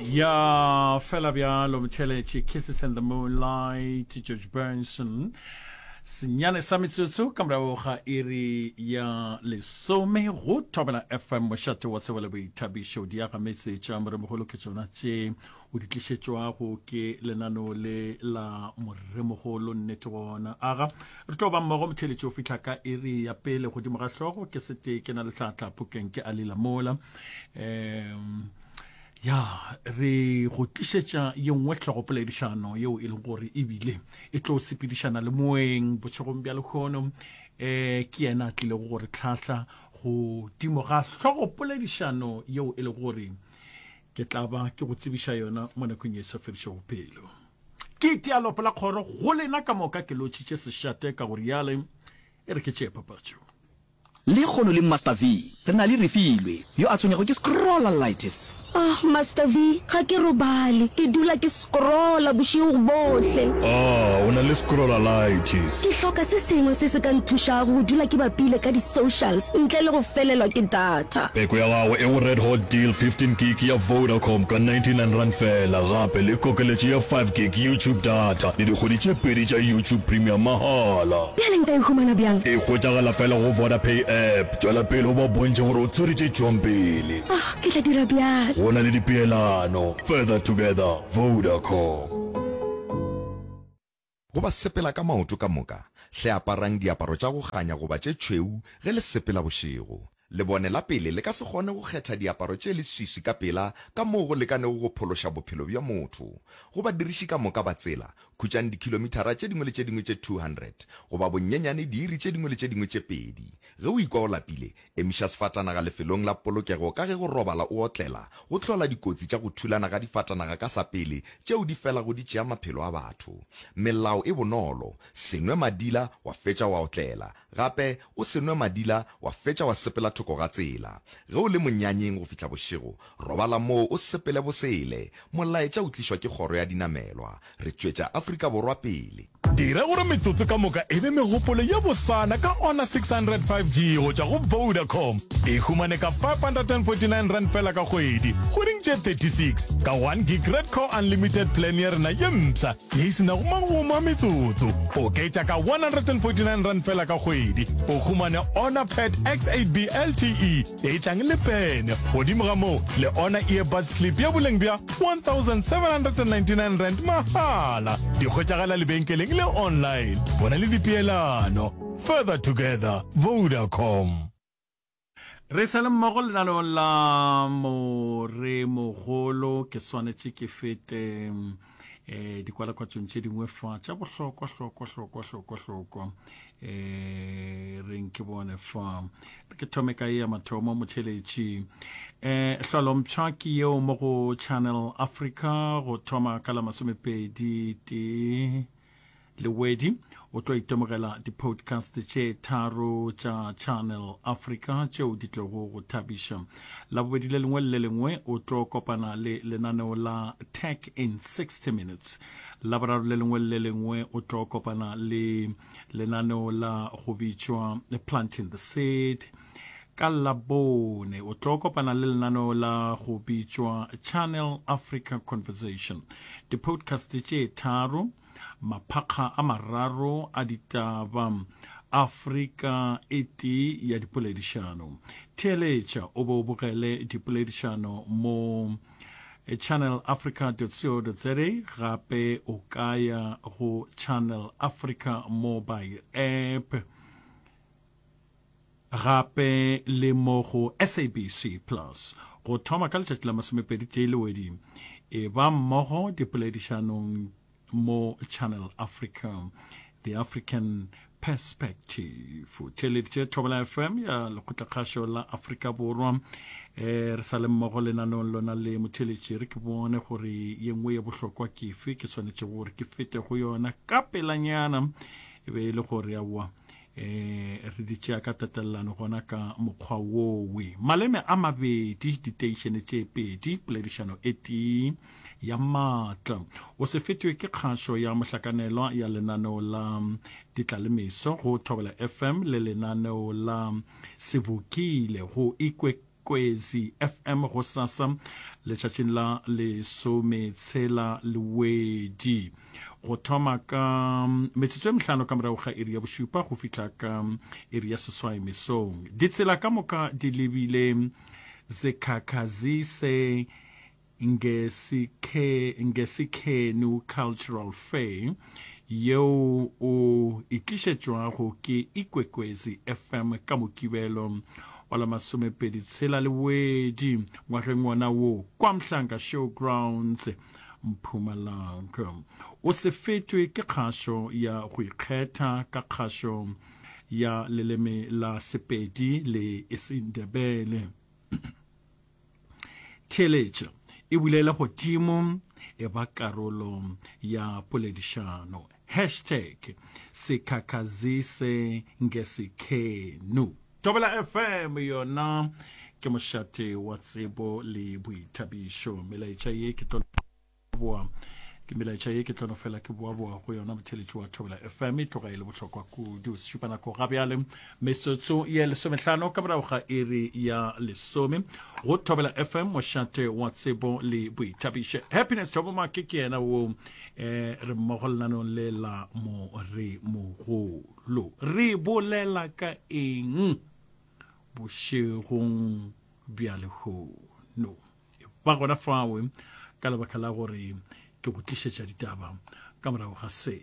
Ya fela bjalo motheletše Kisses in the Moonlight George Benson senyane sa metsotso ka morago ga iri ya lesome go Thobela FM mošate wa tsebo le boithabišo diagametse tša moremogolo ke tšona tše o di tlišetšwago ke lenaneo le la moremogolo nnete gona aga re tlo ba mmogo motheletše o fihla ka iri ya pele godimo ga hlogo ke setee ke na le tlhatla phokeng ke alila mola um ya re go tlišetša ye nngwe hlogopoledišano yeo e leng gore ebile e tlo sepedišana le moeng bošegong bja lehono um ke yena a tlilego gore tlhahla godimo ga hlogopoledišano yeo e lego gore ke tla ba ke go tsebiša yona mo nakong ye e sa fedišego pelo. Ke itia lopo la kgoro go lena ka moka ke lotšhitše sešate ka go riale e re ke tšee papatšo. Lekgono le Master V re na le Refilwe yo a tshwenyago ke scrollalitis. Ah, Master V, ga ke robale. Ke dula ke scrolla bošego bohle. Ah, o na le scrollalitis. Ke hloka se sengwe se se ka nthušago go dula ke bapile ka di-socials ntle le go felelwa ke data. Peko ya gago e go Red Hot Deal 15 gig ya Vodacom ka R99 feela, gape le kokeletšo ya 5 gig YouTube data le dikgwedi tše pedi tša YouTube Premium mahala. Bjale nka e humana bjang? E hwetšagala feela go Vodapay app. Tšwela pele o ba bontšhe gore o tswere tše tšwang pele. Oh, ke tla dira bjalo. Go na le dipeelano. Further together, Vodacom. Go ba sepela ka maoto ka moka, hle aparang diaparo tša go kganya goba tše tšhweu ge le sepela bošego. Lebone la pele le ka se kgone go kgetha diaparo tše leswiswi ka pela ka moo go lekanego go phološa bophelo bja motho. Go badiriši ka moka ba tsela, khutšang dikhilomithara tše dingwe le tše dingwe tše 200 goba bonyenyane diiri tše dingwe le tše dingwe tše pedi. Ge o ikwa o lapile, emiša sefatanaga lefelong la polokego ka ge go robala o otlela go hlola dikotsi tša go thulana ga difatanaga ka sa pele tšeo di felago di tšea maphelo a batho. Melao e bonolo, se nwe madila wa fetša wa otlela. Gape, o se nwe madila wa fetša wa sepela thoko ga tsela. Ge o le monyanyeng go fihla bošego, robala moo o sepele bosele. Molaetša o tlišwa ke Kgoro ya Dinamelwa. Re tšwetša Afrika Borwa pele. Dira gore metsotso ka moka e be megopolo ye bosana ka Honor 600 5G go tšwa go Vodacom. E humane ka R549 fela ka kgwedi, kgweding tše 36, ka 1 gig Red Core Unlimited plan ya rena ye mpsha ye e se nago magomo a metsotso. Oketša ka R149 fela ka kgwedi, o humane Honor Pad X8B LTE e tlang le pene. Godimo ga moo, le Honor Earbuds Clip ya boleng bja R1799 mahala. Di hwetšagala lebenkeleng le online. Bona le dipeelano. Further together, Vodacom. Re sa le mmogo lenaneong la Moremogolo, ke swanetše ke fete um dikwalakwatšong tše dingwe fa tša bohlokwa hlokwa hlokwa hlokwa hlokwa um reng ke bone fa ke thome ka ye ya mathomo motheletši um hlolompsha ke yeo mo go Channel Africa go thoma ka la masomepedi tee Lewedi o tlo itemogela di-podcast tše tharo tša Channel Africa tšeo di tlogo go thabiša. Labobedi le lengwe le le lengwe o tlo kopana le lenaneo la Tech in 60 Minutes. Laboraro le lengwe le le lengwe o tlo kopana le lenaneo la go bitšwa Planting the Seed. Ka Labone o tlo kopana le lenaneo la go bitšwa Channel Africa Conversation. Di-podcast tše tharo, maphakga a mararo a ditaba, Afrika e tee ya dipoledišano. Theeletša o be o bogele dipoledišano mo channelafrica.co.za gape o ka ya go Channel Africa mobile app. Gape le mo go SABC Plus go thoma ka letšatši la masomepedi tee Lewedi. E ba mmogo dipoledišanong mo Channel Africa, The African Perspective. O theeleditše Thobela FM ya Lekgotlakgašo la Afrika Borwa. E, re sa le mmogo lenaneong lona le motheeletši re ke bone gore ye nngwe ye bohlokwa ke efe ke swanetšego gore ke fete go yona ka pelanyana e be e le gore aowa E, re di tšea ka tatelelano gona ka mokgwa wowe. Maleme a mabedi, diteišene tše pedi, poledišano e tee ya maatla. O se fetwe ke kgašo ya mohlakanelwa ya lenaneo la Ditlalemeso go Thobela FM le lenaneo la Sevokile go Ikwekwezi FM gosasa. letšatšing la lesometshela Lewedi go thoma ka metsotso e mehlano ka morago ga iri ya bošupa go fihla ka iri ya seswai mesong. Ditsela ka moka di lebile Zikhakhazise Ngesikhe, Ngesikhenhu Cultural Fair yeo o e tlišetšwago ke Ikwekwezi FM ka Mokibelo wa la masomepedi tshela Lewedi ngwageng wona wo kwa Mhlanga Showgrounds, Mpumalanga. O se fetwe ke kgašo ya go ikgetha ka kgašo ya leleme la Sepedi le isiNdebele. Theeletša e bulele godimo e ba karolo ya poledišano. Hashtag Sikhakhazise Ngesikhenu. Thobela FM yona ke mošate wa tsebo le boithabišo. Melaetša ye ke tlo boa ke melaetša ye ke tlo no fela ke boaboa go yona motheletši wa Thobela FM e tloga e le bohlokwa kudu. Sešupanako ga bjale metsotso ye lesomehlano ka morago ga iri ya lesome go Thobela FM mošate wa tsebo le boithabišo. Happiness Thobo Make ke yena wo eh, re mmogo lenanong le la Moremogolo. Re bolela ka eng bošegong bja lehono? Ba gona fao ka lebaka la gore ke go tlišetša ditaba ka morago ga se.